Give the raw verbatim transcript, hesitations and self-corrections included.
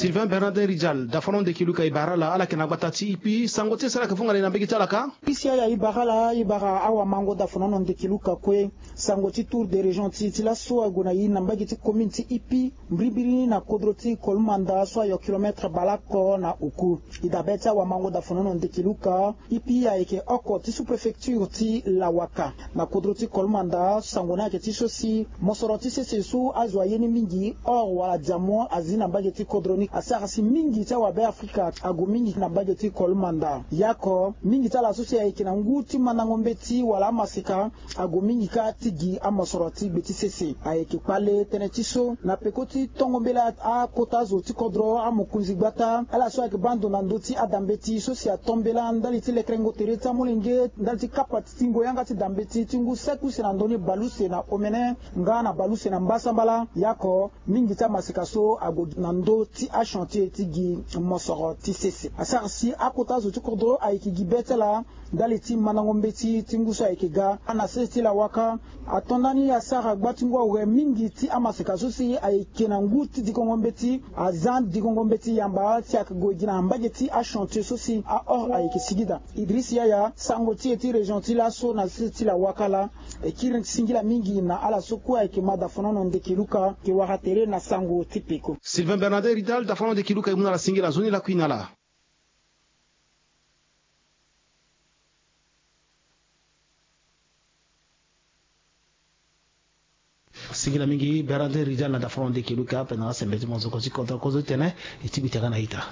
Sylvain Bernardin Rijal, dafono ndeki luka e bara ala ala yeke na gbata ti ipi, sango ti e sara yeke vunga na e na mbege ti ala ka. Pisi aya e bara ala e bara awamango dafono na ndeki luka kue. Sango ti tour de région ti e ti laso ague na e na mbage ti commune ti ipi, mbirimbiri na kodro ti kolomanda so ayo kilometre baleoko na oku. E dabe ti awamango dafono na ndeki luka, ipi ayeke oko ti sous-préfecture ti lawaka. Na kodro ti kolomanda sango ni ayeke ti so si mosoro ti sese so azo aye ni mingi or wala diamant azi na mbage ti kodro ni asara si mingi ti awabe afrika ague mingi na mbage ti kolomanda. Yaoko mingi ti ala so si ayeke na ngu ti mandango mbeti wala amaseka ague mingi kâ ti gi amosoro ti gbe ti sese. Ayeke kpale tënë ti so na peko ti tongo mbela akota zo ti kodro amokonzi gbata ala so ayeke baa ndo na ndö ti adambeti so si ato mbela ndali ti lekerengo tere ti amolenge ndali ti kapa ti tingo yanga ti dambeti ti ngu saki use na ndö ni baleuse na omene nga na baleuse na mbasambala. Yaoko mingi ti amaseka so ague na ndö ti achantier ti gi mosoro ti sese asara si akota zo ti kodro ayeke gi be ti ala ndali ti mandango mbeti ti ngu so ayeke ga. Ana sese ti lawaka ato ndani asara gba ti ngu awe mingi ti amaseka so si ayeke na ngu ti dikongo mbeti aza dikongo mbeti yamba si ayeke gue gi na mbage ti achantier so si aor ayeke sigi daa. Idriss Yaya, sango ti e ti région ti laso na sese ti lawaka laa. E kiri singila mingi na ala so kue ayeke ma dafono na ndeke luka. Ke wara tere na sango ti peko. Sylvain Bernardin Ridal, dafono ndeke luka e mu na ala singila nzoni lakui na ala. Singila mingi Bernardin Ridal na dafono ndeke luka ape na asembe ti monzoko ti kodro kozo ti tene. E ti bita ka na ita.